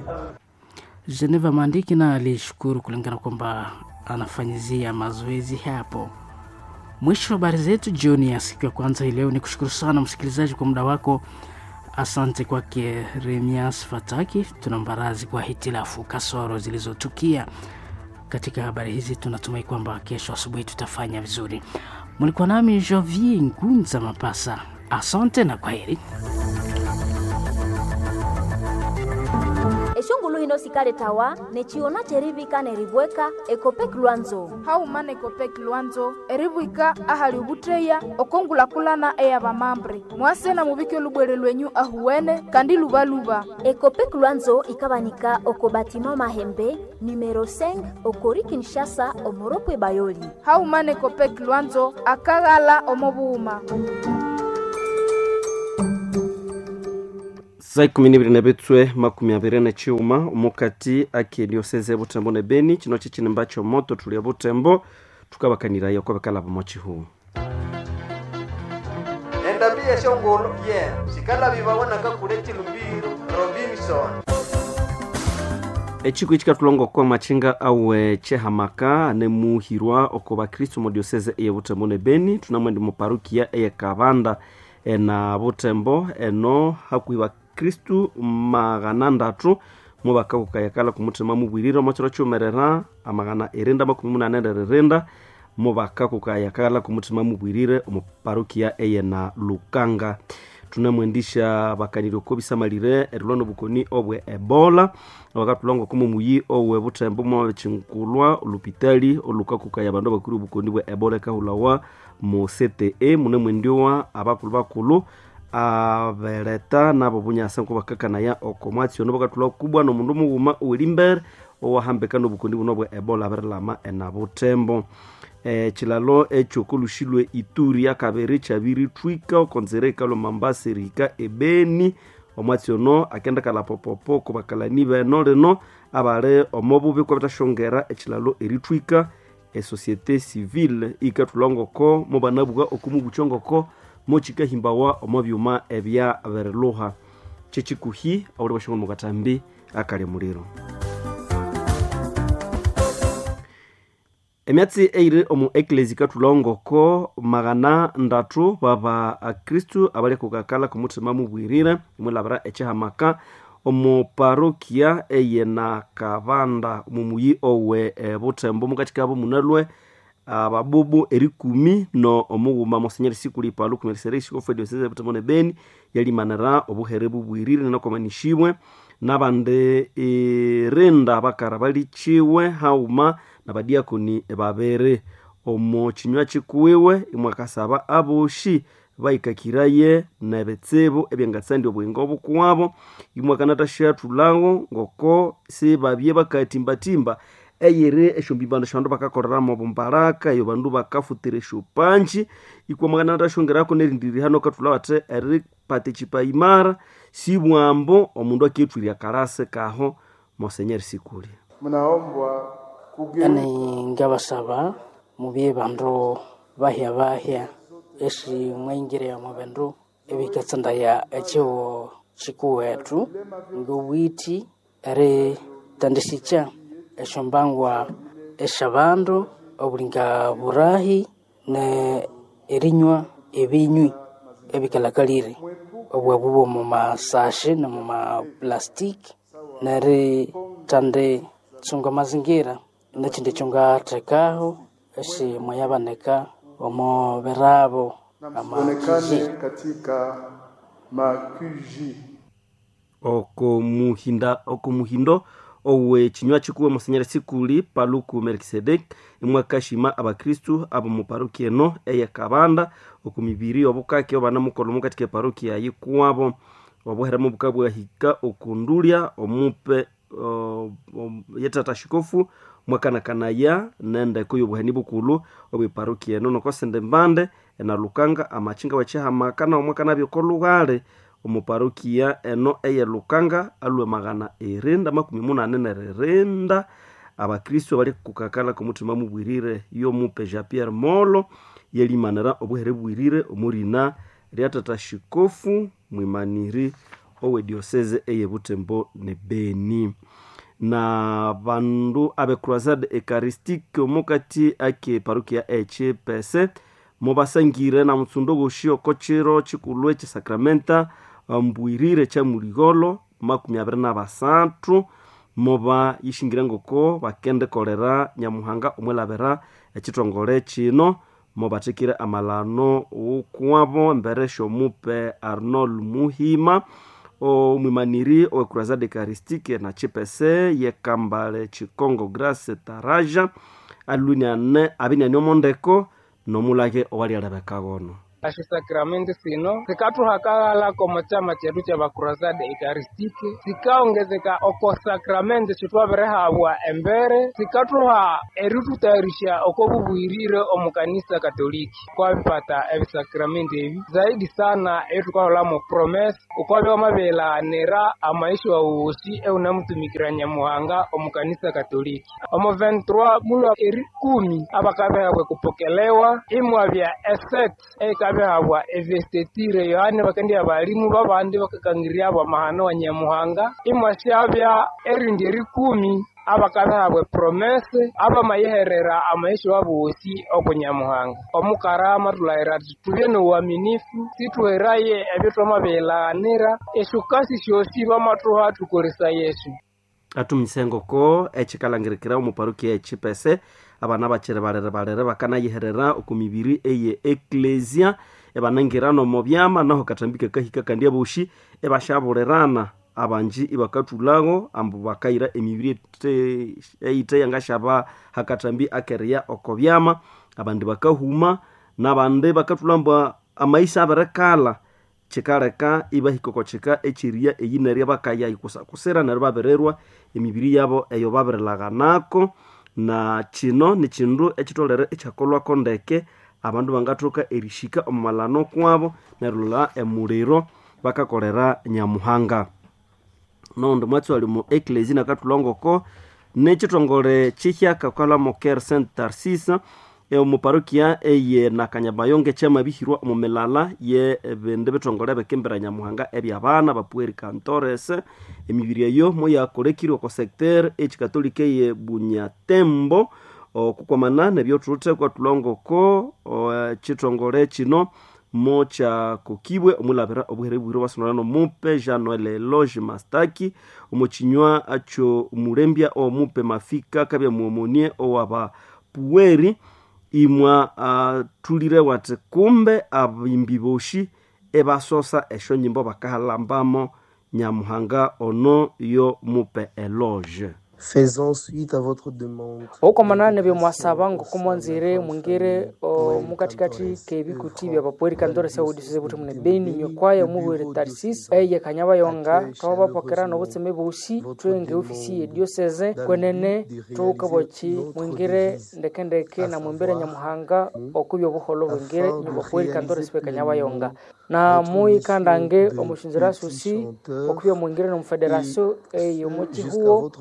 Speaker 14: Geneva Mandiki na alishukuru kulingana kwamba anafanyizia mazoezi hapo. Mwisho wa habari zetu jioni ya siku ya kwanza hii leo, ni kushukuru sana msikilizaji kwa muda wako. Asante kwake Remias Fataki. Tuna mbarazi kwa hitilafu kasoro zilizotukia katika habari hizi. Tunatumai kwamba kesho asubuhi tutafanya vizuri. Mlikuwa nami Jovi Ngunza Mapasa. Asante na kwaheri.
Speaker 6: Eshongulu hino sikaletawa nechiona cherivika neribweka Ekopek Lwanzo.
Speaker 3: Hauma na Ekopek Lwanzo eribwika ahali ubutreya okongulakulana eyabamambre. Mwase na mubike olubwere lwenyu ahuwene kandi lubaluba.
Speaker 6: Ekopek Lwanzo ikabanika oko batima Mahembe numero cinq okori Kinshasa omoropwe Bayoli.
Speaker 3: Hauma na Ekopek Lwanzo akaghala omobuhuma.
Speaker 4: Saa ikumi n'ibiri na bitswe makumi abiri na chiuma omukati ake dioseze Butembo ne Beni chino chichinemba chomoto tulia Butembo tukabakanirayo kwabakala bomo chihu.
Speaker 23: Endambi yeshongolo ye sikala bibawonaka kule chilumbiro Robinson.
Speaker 4: Echiku ichikatulongo kwa machinga awe chehamaka nemuhirwa oko bakristo mu dioseze eye Butembo ne Beni tunamwendi mu parukia eye Kabanda ena Butembo eno hakuhi bakristu magana ndatu mubakakukayakala kumuthema mubwirire omo chiro chiumerera amagana irinda makumi munane neririnda mubakakukayakala kumuthema mubwirire omu parukia eye na Lukanga. Tunamwendisha bakaniri oko bisamalire erilwa nobukoni obwe Ebola bakatulongo kumu muyi owe Butembo mwabichinkulwa olupitali olukakukaya abandu abakuri obukoni bwe Ebola ekahulawa mu C T E munemwendiowa abakulu bakulu abeleta nabo bunyasa nko bakakanaya oko mwatsi ono bakatulwa kubwa nomundu mughuma owelimbere owahambeka nobukoni buno bwe Ebola abirilama ena Butembo. E, chilalo ekyokolushilwe Ituri akabere kyabirithwika okonzera ekalo Mambasa erihika ebeni omwatsi ono akendekala popopo kubakalani beno lino abali omobubi kwabithashongera ekilalo erithwika. Esociete civile ikathulwa mubanabuka okumubucho ngoko mochikahimbawa omo byuma ebya beriluha kyekikuhi awuli bashongo mukatambi akali muliro. Emyatsi eiri omu eklesi kathulwa ngoko magana ndatu baba akristu abali kukakala kumuthima mubwirire imwilabira echihamaka omu parokia eye na Kabanda mumuyi owe e, Butembo mukati kabo munalwe ababubu erikumi no omughuma Monsenyeri Sikuli Paluku Melkisedeki Shikofu diocese Butembo ne Beni yalimanira obuhere bubwirire nokomanishibwe nabandi irinda bakara balichiwe hauma nabadiakoni babere omo chinywa chikuwiwe imwakasaba aboshi baikakiraye nebitsibu ebyangatsandi obuyingo obukuwabo imwakanatashathulawo ngoko sibabye bakatimbatimba eyiri esyombibano syabandu bakakoleramu obumbaraka eyo bandu bakafutira esyopanji ikwamwakanatashongerako nerindiri hano kathula bathi eripata echipaimara sibwambo omundu akethwirya kalasi kaho. Monsenyeri Sikuli
Speaker 15: mnaombwa
Speaker 14: yani ngabasaba mubye bandu bahya bahya esi mwingire omu bindu ebikatsindaya ekiwo kikuwetu ngobwiti eritandisika esyombangwa esyabandu obulinga burahi ne erinywa ebinywi ebikalakalire obwabu bw'omu masashe n'omu maplastiki neritandi tsunga mazingira nekindi ekyongathekaho esi mwayabanika omu birabo
Speaker 15: onekane katika makuji
Speaker 4: oko muhinda oko muhindo owe chinywa chikuwe Monsenyeri Sikuli Paluku Melkisedeki imwakashima abakristu abo mu parokia eno eye Kabanda oku mibiri obukake obanamukolha omukati ke parokia yikuwabo obuheremu bukabwahika okundulya omupe uh, um, yetata shikofu mwakanakanaya nendeko y'obuhani bukulu obwe parokia eno nokosende mbande ena Lukanga amachinga wechihamaka na omwakanabya okolughale omu parokia eno eye Lukanga alwe magana irinda makumi munane neririnda abakristo bali kukakala kumuthima mubwirire y'omupe Jean Pierre Molo yelimanira obuhere bwirire omurina lya tata shikofu mwimaniri owe diocese eye Butembo ne Beni. Na bandu abe Croisade Eucharistique omukati ake parokia echipese mubasangire na mutsundo goshi oko chiro chikulwe chisakramenta mbwirire cha muligholo makumi abiri na basathu muba yishingire ngoko bakendikolera Nyamuhanga omwilabira ekithongole kino mubathekire amalano wukuwabo embere syomupe Arnold Muhima Omwimaniri owe Crusade Eucharistique na Chipese yekambale Chikongo Grace Taraja alwiniane abiniane omondeko nomulage owalialebeka gono.
Speaker 16: Esyo sino sikathuhakaghala omo kyama kyethu ky'abakurasade eucharistique, sikaongezeka oko sakramenti syithwabirihabwa embere, sikathuha eritutayarisya oko bubuyirire omu kanisa katoliki. Kwabipata ebisakramenti ebi zaidi sana eyithukaholamo promesa ukwabya wamabirilaghanira amaisha wawu wosi ewunamutumikira Nyamuhanga omu kanisa katoliki. Omu vingt-trois mulwa erikumi abakabihabwa ekupokelewa, imwabya esete eyikabihabwa evestetire Yohane bakendibya abalimu babandi bakakangiryabo amahano wa Nyamuhanga, imwasyabya erindi erikumi abakabihabwa epromese abamayiherera amaisha wabo wosi oku Nyamuhanga. Omukarama thulahira athi tubye n'obuaminifu, sithuheraye ebyo thwamabirilaghanira, esyokasi syosi bamathuha thukolesaya esyo.
Speaker 4: Atumise ngoko ekikalangirikira omu parokia echipese abana bakiri balere balere bakanayiherera oku mibiri eye eklesia ebanangira nomo byama naho katambika kahika kandi aboshi ebashaburirana abanji ibakathulhago ambu bakayira emibiri eyite yangashaba hakatambi akeria oko byama abandi bakahuma nabandi bakathulha ambu amaisha abirekala kikaleka ibahika oko kika ekyeriya eyinerya bakaya ikusakusira neryo babirirwa emibiri yabo eyo babirilaghanako. Na kino nikindu ekitholere ekyakolhwako ndeke abandu bangathoka erishika omu malano kwabo nerilolha emuliro bakakolera Nyamuhanga. Nondi mwatsi wali mu eklezia nakathulha ngoko nekithongole kihyaka kalhamo Cœur Saint Tarcisse omu parokia eye Nakanyabayonga ekyamabihirwa omu milala ye ebindi bithongole ebikimbira Nyamuhanga ebyabana bapueri cantores. Emibiri eyo moyakolekirwe oko secteur ekikatolika eye Bunyatembo okukwamana nebyothuthwe kwathulha ngoko ekithongole kino mokyakokibwe omulabira obuhere bwire bwasunulana omupe Jean Noel Eloge Mastaki omukinywa akyo mulembya omupe Mafika kabya muomonie owaba pueri imwa uh, thulire wati kumbe abimbi boshi ebasosa esyo nyimbo bakahalambamo Nyamuhanga ono yo mupe Eloge.
Speaker 18: Faisons suite à votre demande.
Speaker 17: Okomanana nebyo mwasaba ngokumwanzire mwingire mukatikati kebikuti bya bapueri kantore saudisize buti mune Beni nyokwaya mubwire Tarsis eye Kanyabayonga twabapokera nobutseme bosi twenge ofisi ye diocese kwenene tukabochi mwingire ndekendeke na mwembere Nyamuhanga okubyo buholo bwingire nyobapueri kantore sibe Kanyabayonga na muikandange omushunzira susi okubyo mwingire no federation eye muchihuo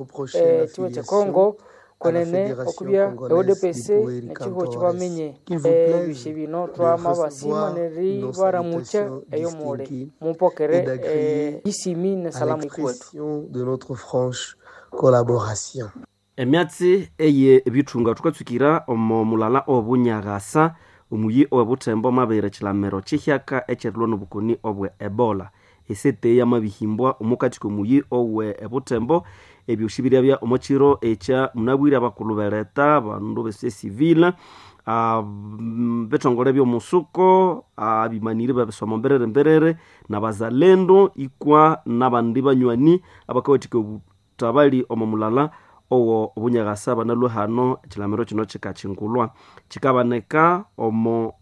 Speaker 17: chiwe cha Congo kwenene okubya E D P C nechihuo chibamenye ebishe bino twama basima neri baramucha eyo mule mupokere isimi ne salamu ikwetu
Speaker 18: de notre franche collaboration.
Speaker 4: Emyatsi eye ebithunga tukatsukira omo mulala obunyagasa omuyi owebuthembo mabere kilamero kihyaka ekyerilwa nobukoni obwe Ebola esete yamabihimbwa omukati komuyi owe ebuthembo ebyosi biryabya omukiro ekya munabwire abakulhu beleta abandu b'esociété civile bithongole byomusuko abimaniri bebisomo mberere mberere nabazalendo ikwa nabandi banywani abakawathika obutabali omo mulala owo obunyagasa banalwe hano ekilamiro kino kikakyingulwa kikabaneka omo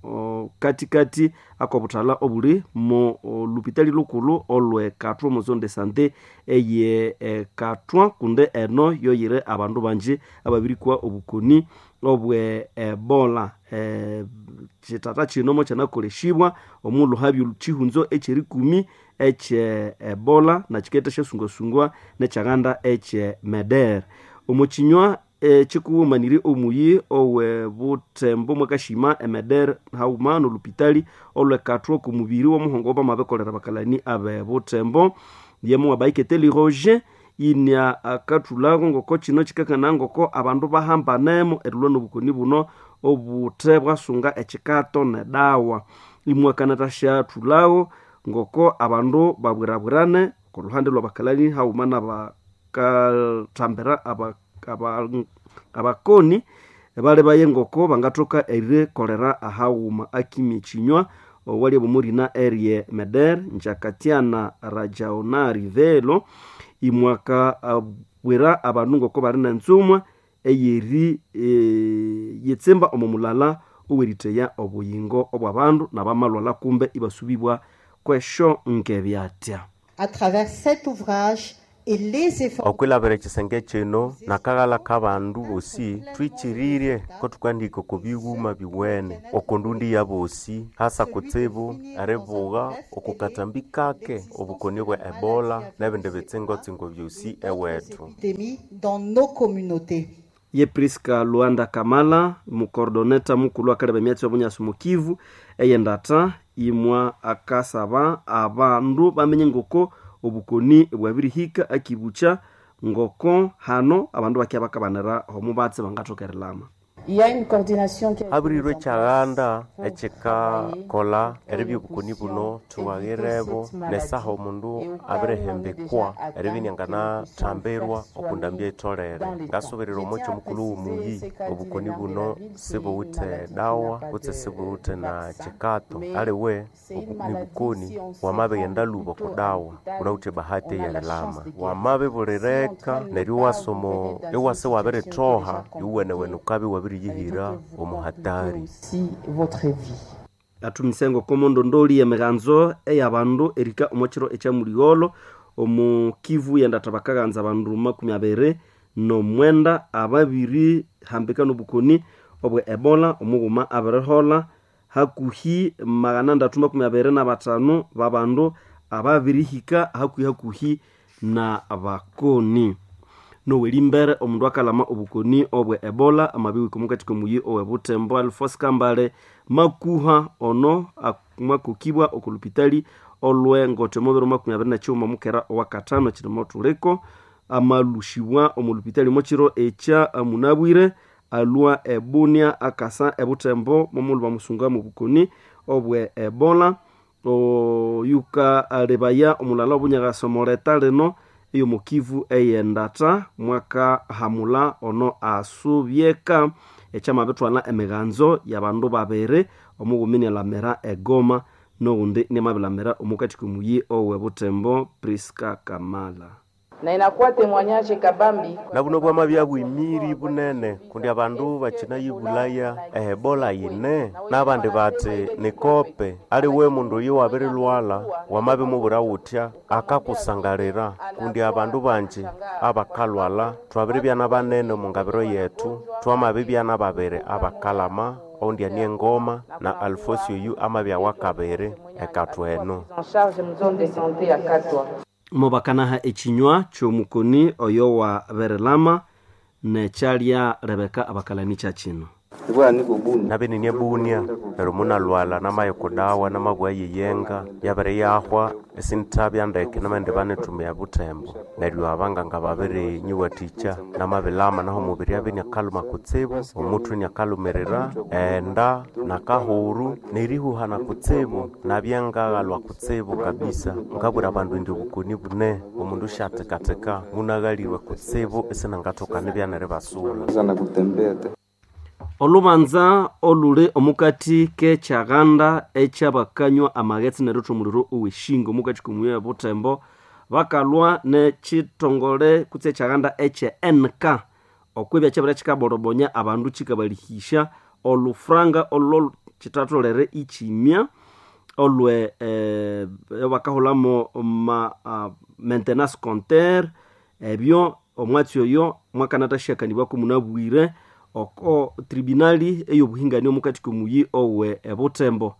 Speaker 4: katikati akobuthala obuli mu lupitali lukulu olwe Katwa omu zone de sante eye Katwa kundi eno yoyire abandu bangi ababirikwa obukoni obwe Ebola. E, kitata kino mokyanakoleshibwa omulhuhabya kihunzo ekyerikumi ekye Ebola nakiketha syasungasungwa nekyaghanda ekye Meder. Omukinywa ekikuwumanire omuyi owe buthembo mwakashima emeder hauma nolupitali olwekathwa okumubiri womuhongo bamabikolera bakalani abe buthembo yemo wabaiketeli Roger inya akathulhago ngoko kino kikakana ngoko abandu bahambanemo erilwa nobukoni buno obuthe bwasunga ekikato nedawa imwakanathasyathulhago ngoko abandu babwirabwirane okoluhande lwabakalani hauma nabakathambira abakoni bali baye ngoko bangathoka erikolera ahaghuma akimya ekinywa owali bomurina erie Meder Njakatiana Rajaonari Velo imwaka abwira abandu ngoko bali nenzumwa eyeri e, yetsimba omo mulala oweriteya obuyingo obw'abandu n'abamalwala kumbe ibasubibwa kwesho nkebyatya.
Speaker 5: À travers cet ouvrage et les efforts
Speaker 19: okwilabira ekisenge kino nakaghala k'abandu bosi twikiririe ko tukandika oko bighuma biwene oko ndundi ya bosi hasa kutsibu eribugha oko katambi kake obukoni bwa ebola n'ebindi bitsingo-tsingo byosi ewethu
Speaker 5: épidémies dans nos communautés.
Speaker 4: Ye Priska Luanda Kamala mukordoneta mukulu akaleba emyatsi y'obunyasi mukivu eyendata imwa akasaba abandu bamenye ngoko obukoni bwabirihika akibucha ngoko hano abandu bakya bakabanira omubatsi bangathokerilama.
Speaker 7: Il y a une coordination qui a été
Speaker 19: habirirwe ekyaganda ekyikakola eribya obukoni buno thuwaghirebo nesaha omundu abirihembekwa eribya inianganathambirwa okundambya etholere ngasubirira omwekyo mukulhu w'omuyi obukoni buno sibuwithe dawa kutse sibuwithe na kyikato aliwe obu- nibukoni wamabighenda lhuba oku dawa wunawithe bahati eyerilama wamabibulireka neryo iwasomo iwasa iwabirithoha iwuwenewene ukabya iwabiriyihira omu hatari.
Speaker 7: votre vie.
Speaker 4: Athumise ngoko mondondoli emiganzo eyabandu erika omwakiro ekyamuligholo omu Kivu yendatha bakaghanza abandu makumi abiri nomwenda ababiri hambika nobukoni obwe ebola omughuma abirihola hakuhi magana ndatu makumi abiri na batano babandu ababirihika hakuhi hakuhi na bakoni nowelimbere omundu akalama obukoni obwe ebola amabiwika omukati komuyi owe Butembo Alphonse Kambale makuha ono mwakukibwa okulupitali olwe ngote omubiri makumi abiri na kighuma mukera owakatano kirimo thuliko amalushibwa omulupitali omwakiro ekya munabwire alwa ebunia akasa ebutembo momulhu bamusunga mu bukoni obwe ebola oyuka alebaya omulala obunyakasa omuleta lino eyomukivu eyendata mwaka hamula ono asubyeka ekyamabithwala emiganzo yabandu babiri omughumi nialamira egoma noghundi niamabilamira omukati komuyi owe Butembo Priska Kamala.
Speaker 7: Na inakuwa témoignage kabambi
Speaker 19: na buno bwamabya bwimiri bunene kundi abandu bakinayibulaya ehebola yine n'abandi bati nikope aliwe mundu oyo wabirilwala wamabimubwira wutya akakusangalira kundi abandu banji abakalwala twabiribyana banene omu ngabiro yethu twamabibyana babiri abakalama oundi ani engoma na Alfosio oyu amabya wakabiri ekatwa eno.
Speaker 7: En charge mu zone de santé ya Katwa.
Speaker 4: Mubakanaha ekinywa ky'omukoni oyo wa berilama nekyalya Rebeka abakalani kya kino.
Speaker 19: Nabinini ebunia neryo munalwala namaya kudawa namabwa yeyenga yabere yahwa esinthabya ndeke namaghenda banithumia Butembo neryo abanganga babiri nyiwathikya namabilama naho omubiri abya iniakalhuma kutsibu omuthwe iniakalumirira enda nakahuru nerihuhana kutsibu nabya ngaghalwa kutsibu kabisa ngabwira abandu indi obukoni bune omundu syathekatheka munaghalirwe kutsibu isinangathoka nibya neribasula.
Speaker 4: Olubanza oluli omukati k'ekyaghanda ekyabakanywa amaghetse neritha omuliro oweshingo omukati komuyi e Butembo bakalwa n'ekithongole kutse ekyaghanda ekye N K okwibya kyabere kikaborobonya abandu kikabalihisya olufranga olwo kithatholere ikimya olwe eh, bakahulamo ma uh, maintenance compteur ebyo omwatsi oyo mwakanatashyakanibwako munabwire oko tribunali eyobuhingani omukati komuyi owe ebutembo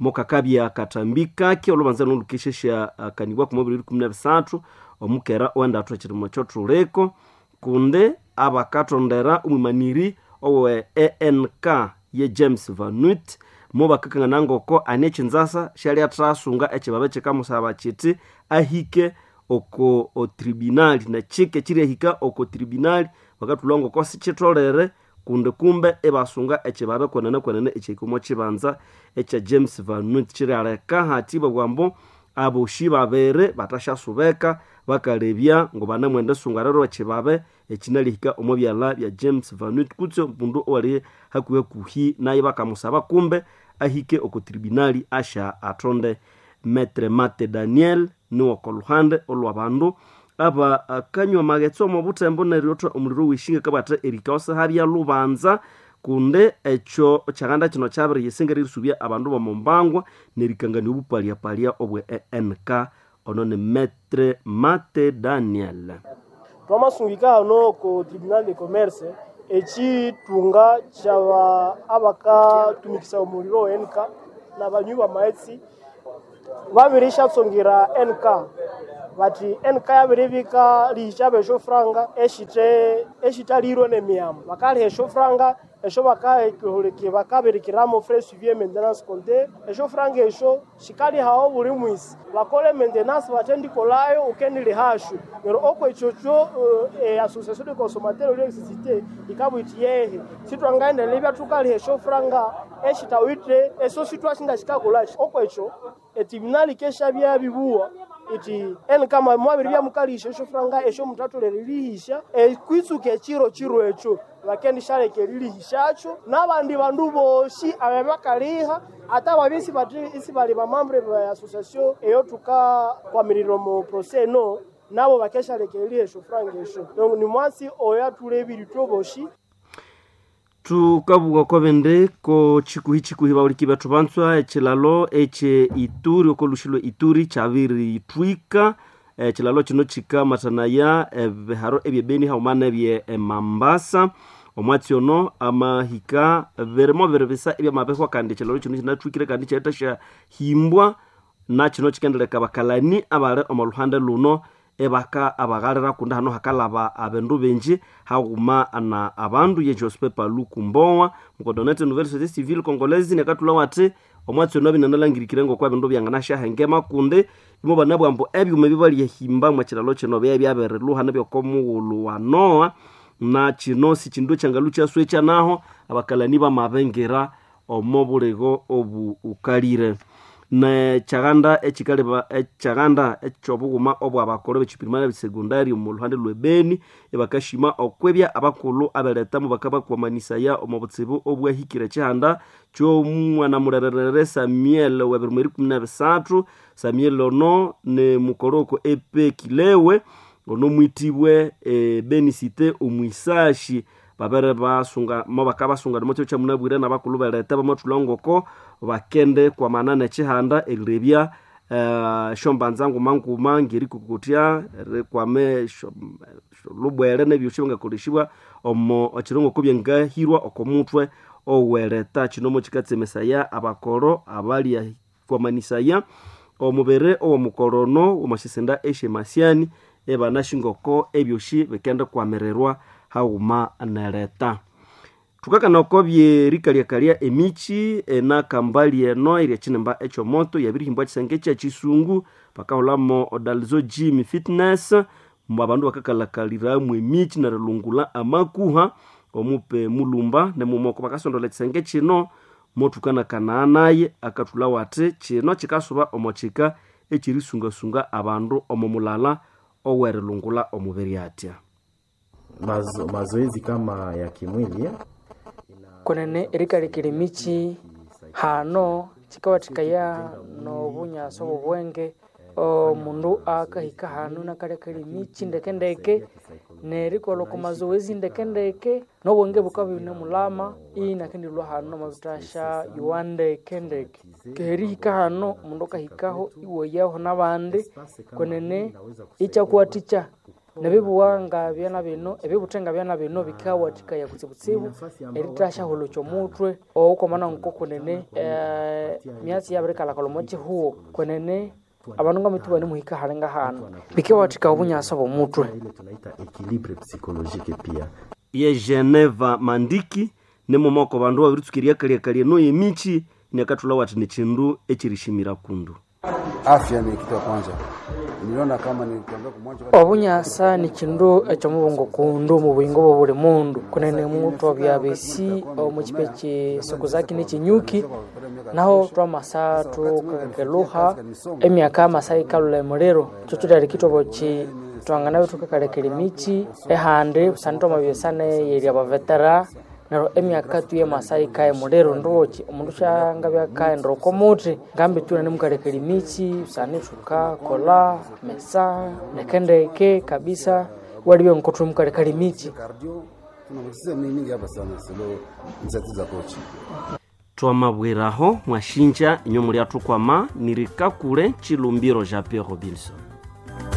Speaker 4: mukakabya katambi kake olubanza nolukesheshakanibwa ku mubiri ikumi na bisathu omukera owendathu ekirimo kyothuliko kundi abakatondera omwimaniri owe E N K ye James Vanut mubakakangana ngoko ani ekinzasa syali athasunga ekibabe kikamusaba kiti ahike oko tribunali nekike kiryahika oko tribunali bakathulha ngoko sikitholere kundi kumbe ibasunga ekibabe kwenene kwenene ekyahika omo kibanza ekya James Vanut kiryaleka hati babugha aboshi babiri bathasyasubeka bakalebya ngobanamwenda esunga ekibabe ekinalihika omo byalha bya James Vanut kutse omundu owali hakuhi hakuhi naye bakamusaba kumbe ahike oko tribunali asha atonde. Metre Mate Daniel niwoko luhande olwabandu aba akanywa magetso omo butembo neryo omuliro weshinga kabata erikaosa habya lubanza kunde echo chaganda chino chabere yesinga risubya abandu bomombangwa nerikangania obupalya-palya obwe E N K. Ono ni Metre Mate Daniel.
Speaker 21: Twamasungika hano ko tribunal de commerce echitunga chaba abakatumikisa omuliro N K na banywi bamaetsi babirishatsongira N K bati N K yabiribika lihisha esho franga eshite eshitalirwe nemiyamo bakaliha esho franga esho bakaholeke bakabirikiramo frais suivi maintenance compte esho franga esho shikalihawo buli mwisi bakole maintenance batendikolayo ukenilihashu nero okwechocho uh, e, association de consommateurs l'électricité ikabwiti yehe sitwangaendelea ibya tukaliha esho franga eshitawite eso sitwashinga shikakolashi okwecho etribunali kesha byabibuwa iti eni kama mwabiri byamukalisha esho franga esho mutatolere lihisha ekwitsuka echiro chiro echo bakendishaleka erilihishacho n'abandi bandu boshi abe bakaliha ata babisi bati isi bali bamambre ba association eyo tukakwamirira mu procès no nabo bakeshaleka eriliha franga esho donc ni mwasi oyo atulebiri twoboshi.
Speaker 4: Tukabuga kwabende ko chikuhi chikuhi bauliki bethu bantswa echilalo eche Ituri okolushilo Ituri chabiri twika echilalo chino chikamathanaya ebiharo ebyebeni haumana ebye Mambasa omwatsi ono amahika birimo biribisa ebyamabehwa kandi echilalo chino chinatwikire kandi chaeta syahimbwa na chino chikendeleka bakalani abali omo luhande luno ebaka abaghalira kundi hano hakalaba abandu benji haghuma na abandu ye Joseph Paluku Mbowa mukodonete Nouvelle Société Civile Congolaise nekatula wati omwatsi ono binanalangirikire ngoko ebindu byanganasyahenga kundi imo banabwa ambu ebyuma ebibaliyehimba mwa kilalo kino bya byabirilhuha nibyokomughulhu wa Noa na kino si kindu ekyangalu kyaswekya naho abakalani bamabengira omo buligo obu ukalire. Nekyaganda ekikaleba ekyaganda ekyobughuma obwabakolo bekipirimali ebisegondari omu luhande lw'ebeni ebakashima okwebya abakulhu abeletamu bakabakwamanisaya omu butsibu obwahikire ekihanda ky'omwana mulererere Samuel w'ebirimo erikumi n'ebisathu. Samuel ono ni mukoroko epekilewe ono mwitibwe ebeni site omwisashi babere basunga mo bakabasunga mo kya munabwire n'abakulhu beleta bamathulha ngoko bakende kwamana n'ekihanda erirebya uh, shombanza nguma nguma ngerikukutya rikwame lubwere n'ebyosi byangakoleshibwa omo ekirongo byangahirwa oko mutwe oweleta. Kino mo kikatsemesaya abakoro abalya kwamanisaya omubere owomukorono omasisenda eshe-Masiani ebanashingoko ebyosi bikende kwamererwa haghuma nereta. Thukakana oko byerikalyakalia emichi enakambali eno erya kinimba ekyomoto yabirihimbwa kisenge kya kisungu bakahulamo Odalzo Gym Fitness mbu abandu bakakalakaliramu emichi nerilungula amakuha omupe mulumba nemumoko bakasondola ekisenge kino mothukanakanaa naye akathulha wathi kino kikasuba omo kika ekyerisungasunga abandu omo mulala owerilungula omubiri atya.
Speaker 2: Mazo, mazoezi kama ya kimwili
Speaker 17: kunene erikalikira emichi hano chikawathikaya nobunyasa obwobwenge omundu akahika hano nakalekera emichi ndekendeke nerikolha oko mazoezi ndekendeke nobwenge bukabya ibune mulama inakendilhwa hano amabitasha yowa ndekendeke kerihika hano omundu akahikaho iwayaho nabandi kwenene ikyakuwathikya nebibuwa nga byana bino ebibuthe nga byana bino bikawathikaya kutsibutsibu eritasyaholokya omutwe okwamana nkokunene eh, myatsi yabirikalhakalha omo kihugho kwenene abandu ngamithu banemuhika hali ngahano bikawathikaya obunyasa bw'omutwe.
Speaker 2: Ile tunaita equilibre psychologique pia
Speaker 4: ye Geneva Mandiki nemumoko bandu babiritsuka kalyakalya eno yemichi nekathulha wathi nikindu ekirishimira kundu.
Speaker 8: Afya ni kitu ya kwanza. Niliona kama nilitembea kumwanja
Speaker 17: obunyasa ni kindu ekyomubongo kundu omu buyingo bwa buli mundu kunene muthu abyabesi omu kipa ekisukuzaki nekinyuki naho twamasa tukakeluha emyaka amasa yikalhula emuliro kyo kithoboki twanganabe thukakalekera emichi ehandi busana twamabyesa neyerya abavetera Neryo emyaka tu y'emasai kaye muliro ndochi omundu syangabya kaghenda oko muthi ngambi tu nanemukalekera emitsi busana thukakolha mesa ndekendeke kabisa walibya ngoko thunemukalekera emitsi
Speaker 8: Cardio tuna mingi hapa sana selo initiative za coach.
Speaker 4: Twamabwiraho mwashinja inywe muli athukwama nirikakule Chilumbiro Jean Pierre Robinson.